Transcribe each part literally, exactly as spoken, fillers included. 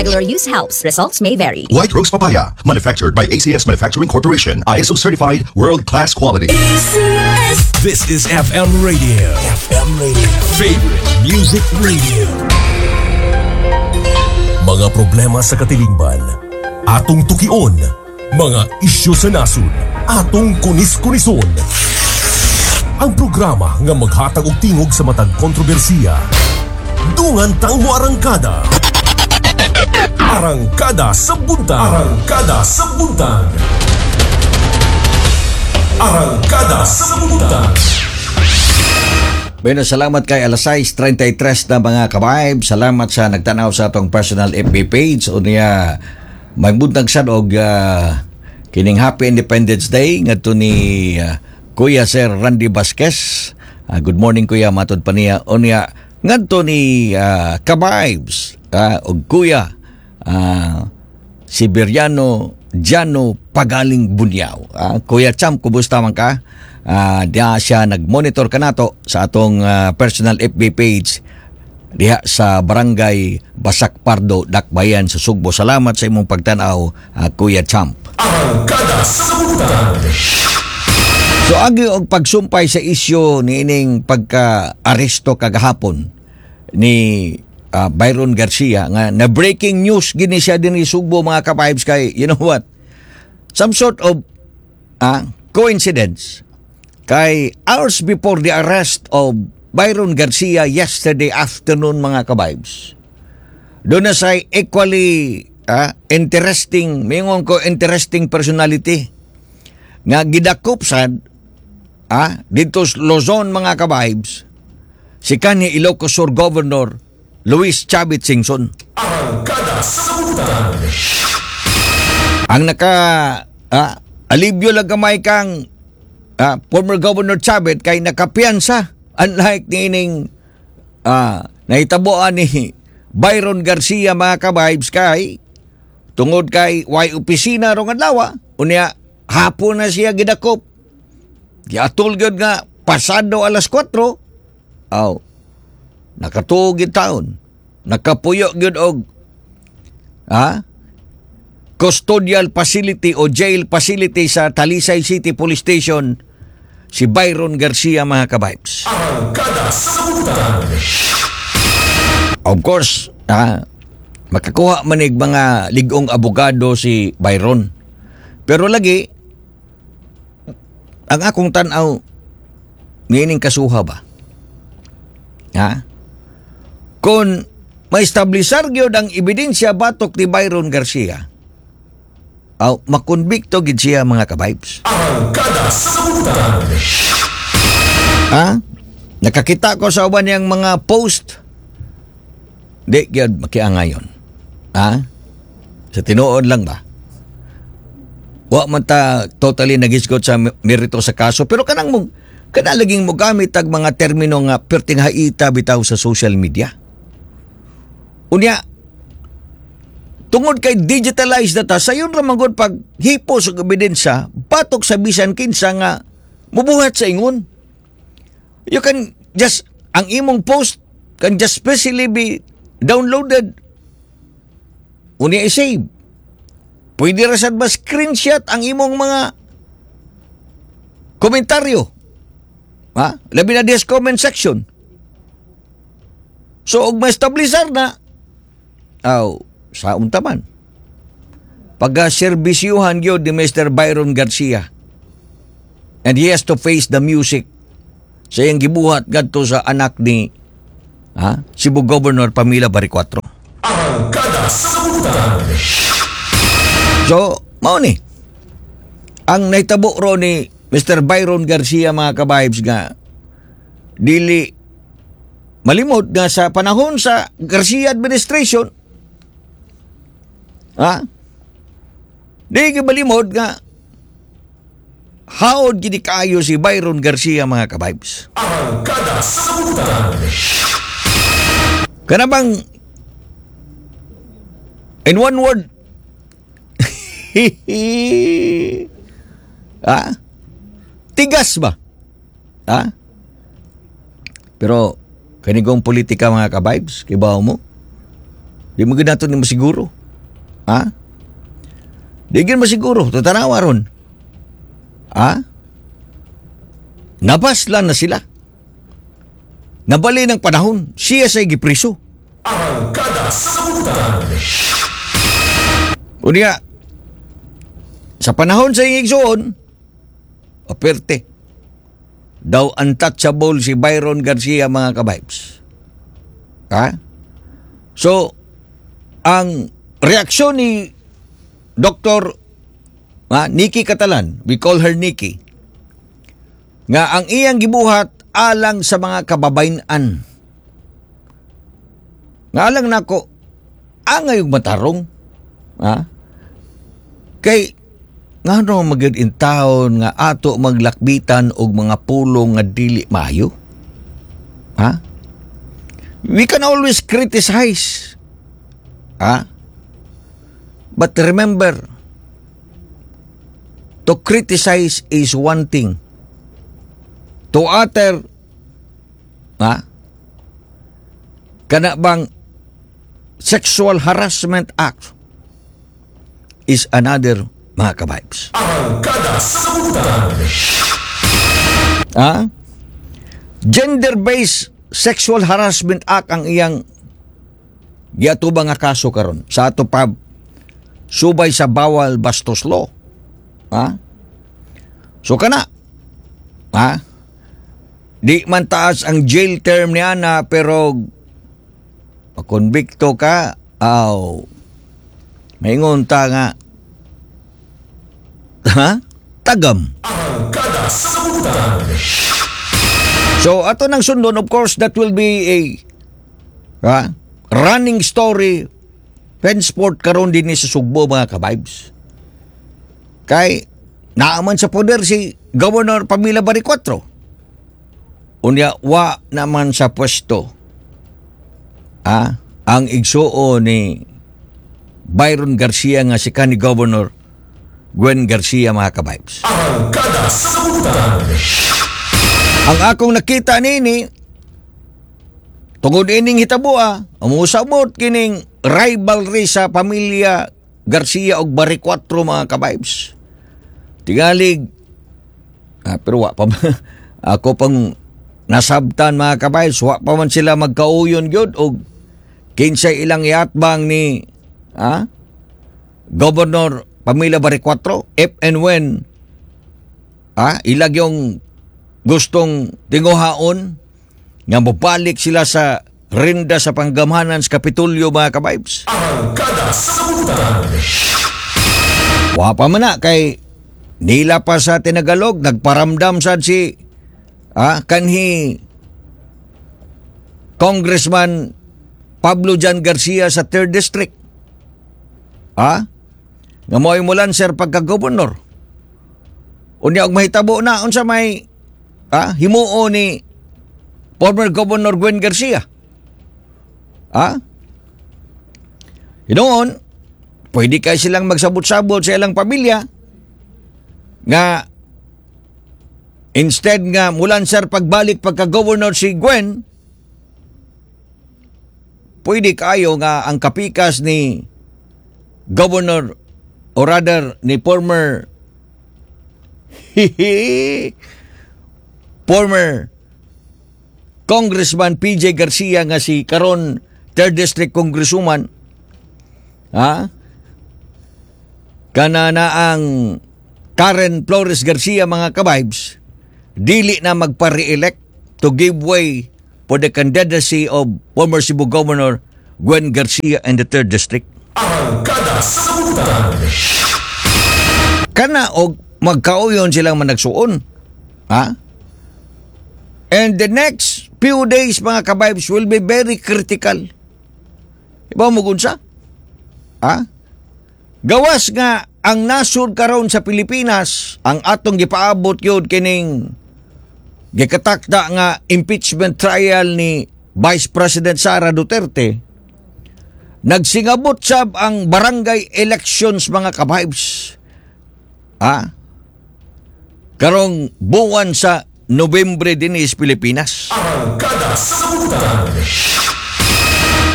Regular use helps. Results may vary. White Rose Papaya, manufactured by A C S Manufacturing Corporation, I S O certified, world-class quality. This is F M Radio. F M Radio. Favorite Music Radio. Mga problema sa katilingban, atong tukion. Mga isyu sa nasod, atong kunis-kunison. Ang programa nga maghatag og tingog sa matag kontrobersiya. Dungan tang moarangkada. Arangkada sa Buntag. Arangkada sa Buntag. Arangkada sa Buntag. Bueno, salamat kay alas sais trenta y tres na, mga ka-vibe. Salamat sa nagtanaw sa atong personal F B page. O niya, magbuntag sad og ah, kining Happy Independence Day ngadto ni ah, Kuya Sir Randy Vasquez. Ah, good morning, Kuya, matod pa niya. O niya, ngadto ni ah, ka-vibes ah, og Kuya ah, Siberiano Jano Pagaling Bunyaw. Ah, Kuya Champ, kumusta man ka? Ah, diha siya nag-monitor kanato sa atong ah, personal F B page diha sa Barangay Basak Pardo, Dakbayan sa Sugbo. Salamat sa imong pagtanaw, ah, Kuya Champ. Arangkada sa Buntag. So agi og pagsumpay sa isyu niining pagka-aresto kagahapon ni ah, Byron Garcia nga na breaking news gini siya dinhi Sugbo, mga ka-vibes, kay you know what, some sort of ah, coincidence kay hours before the arrest of Byron Garcia yesterday afternoon, mga ka-vibes, duna say equally ah, interesting, mingon ko interesting personality nga gidakop sad ah, dito sa Luzon, mga ka-vibes, si kanhi Ilocos Sur Governor Luis Chavit Singson. Arangkada sa Buntag. Ang naka ah, alibyo lang gamay kang ah, former Governor Chavit kay nakapiyansa, unlike niining ah, nahitabuan ni Byron Garcia, mga ka-vibes, kay tungod kay way opisina rong adlaw, unya hapon na siya gidakop. Giatol gyud nga pasado alas kwatro. Aw, nakatuog gyud taon, nakapuyo gyud og ha custodial facility o jail facility sa Talisay City Police Station si Byron Garcia, mga ka-vibes. Arangkada sa Buntag. Of course, ah, makakuha manig mga ligong abogado si Byron. Pero lagi, ang akong tanaw, niining kasuha ba? Ha? Kung ma-establisar gyud ang ebidensya batok ni Byron Garcia, aw, makonbikto gid siya, mga ka-vibes. Arangkada sa Buntag. Ha? Nakakita ko sa uban niyang mga post. Di gyud makiangayon. Ha? Sa tinuod lang ba? Wa man ta totally nagisgot sa merito sa kaso, pero kanang mo kana laging mo gamit ag mga termino nga perting haita bitaw sa social media. Unya, tungod kay digitalized data, sayon ra man gud pag hipos og ebidensya batok sa bisan kinsa nga mubuhat sa ingon. You can just, ang imong post can just specially be downloaded. Unya i-save. Pwede ra sad ba screenshot ang imong mga komentaryo. Ha? Labi na diha sa comment section. So, og ma-establisar na, aw, sa untaman. Pagka serbisyuhan gyud ni Mister Byron Garcia. And he has to face the music sa iyang gibuhat gadto sa anak ni ha, Cebu Governor Pamela Baricuatro. Arangkada sa Buntag. So, mao ni. Ang nahitabo ro ni Mister Byron Garcia, mga ka-vibes, nga dili malimot nga sa panahon sa Garcia administration, ha, di gyud malimot nga haod gid kaayo si Byron Garcia, mga ka-vibes. Arangkada sa Buntag. Kana bang in one word, ah, tigas ba? Ha? Pero kanigong politika, mga ka-vibes, kibaw mo. Di mo gyud nato ni masiguro. Ha? Di gyud masiguro. Tatanawa ron. Ha? Nabaslan na sila. Nabali ng panahon, siya say gipriso. Arangkada sa Butan. Unya, sa panahon sa iyang igsuon, aperte. Daw untouchable si Byron Garcia, mga kabibes. Ha? So, ang reaksyon ni Doctor ha, Nikki Catalan, we call her Nikki, nga ang iyang gibuhat alang sa mga kababayan. Nga alang nako, angay og matarong. Ha? Kay ngano magyud in taon nga ato maglakbitan og mga pulong nga dili maayo? Ha? We can always criticize. Ha? But remember, to criticize is one thing. To utter, ha? Kana bang sexual harassment act is another, mga kabibes. Arangkada sa Butan. Ha? Gender-based Sexual Harassment Act ang iyang giatubang nga kaso karon sa ato pa subay sa bawal bastos law. Ha? So kana. Ha? Di man taas ang jail term niya na, pero makonbikto ka, aw, maingon ta nga, ha? Tagam. Arangkada sa Butan. So ato nang sundon, of course, that will be a, ha, running story henceforth karon din sa Sugbo, mga kabibes. Kay naaman sa poder si Governor Pamela Baricuatro. Unya wa naman sa pwesto, ah, ang igsuo ni Byron Garcia nga si kanhi Governor Gwen Garcia, mga kabibes. Arangkada sa Butan. Ang akong nakita nini tungod ining hitaboa, musabot kining rivalry sa pamilya Garcia og Baricuatro, mga kabibes. Tingalig ah, pero wa pa ako pang nasabtan, mga kabibes, wa pa man sila magkauyon gyud og kinsay ilang iatbang ni ah, Governor Pamela Baricuatro if and when ah, ilag yung gustong tinguhaon nga mobalik sila sa rinda sa panggamhanan sa Kapitolyo, mga kabibes. Arangkada sa Butan. Wa pa man na kay nila pa sa tinagalog nagparamdam sad si ah, kanhi Congressman Pablo John Garcia sa third District. Ah? Nga mo'y mulan sir pagka-governor. Unya og mahitabo na, unsa may ah, himuo ni former Governor Gwen Garcia? Ah? Hinoon, pwede kay silang magsabot-sabot sa ilang pamilya nga instead nga mulan sir pagbalik pagka-governor si Gwen, pwede kayo nga ang kapikas ni Governor or rather ni former former Congressman P J Garcia nga si karon third District Congresswoman, ha, kana na ang Karen Flores Garcia, mga kabibes, dili na magpa-re-elect to give way for the candidacy of former Cebu Governor Gwen Garcia in the third District. Arangkada sa Butan. Kana og magkauyon silang managsuon. Ha? And the next few days, mga kabibes, will be very critical. Iba mo sa? Ha? Gawas nga ang nasod karon sa Pilipinas, ang atong gipaabot yun kining gikatakda nga impeachment trial ni Vice President Sara Duterte, nagsingabot sab ang barangay elections, mga kabibes. Ha? Karong buwan sa Nobyembre dinhi sa Pilipinas. Arangkada sa Butan.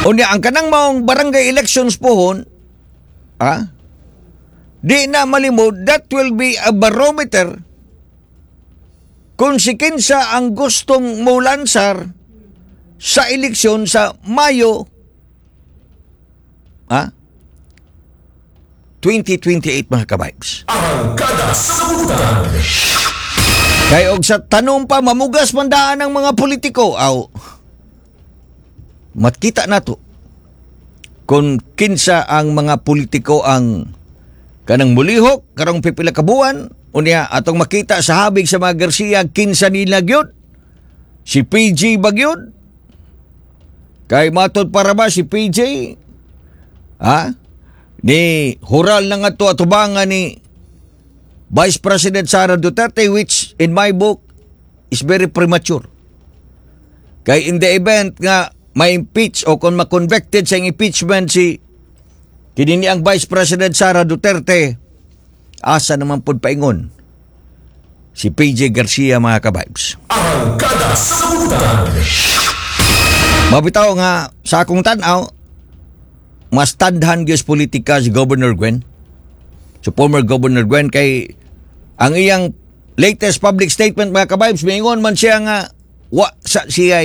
Unya ang kanang maong barangay elections pohon, ah, di na malimod, that will be a barometer kung si kinsa ang gustong mulansar sa eleksyon sa Mayo, ah, twenty twenty-eight, mga kabibes. Arangkada sa Butang. Kay og sa tanong pa mamugas man daan ang mga politiko, aw makita nato kung kinsa ang mga politiko ang kanang mulihok karong pipila ka buwan. Unya atong makita sa habig sa mga Garcia, kinsa nila gyud, si P J ba gyud? Kay matod para ba si P J, ha, ni hural na nga to atubangan ni Vice President Sara Duterte, which in my book is very premature. Kay in the event nga ma-impeach o kung ma-convicted sa impeachment si kini ang Vice President Sara Duterte, asa naman pud paingon si P J Garcia, mga kabibes? Arangkada sa Butang. Mabitaw nga sa akong tan-aw, mas tandhan gyud sa politika si Governor Gwen. So former Governor Gwen, kay ang iyang latest public statement, mga kabibes, mingon man siya nga wa sa siya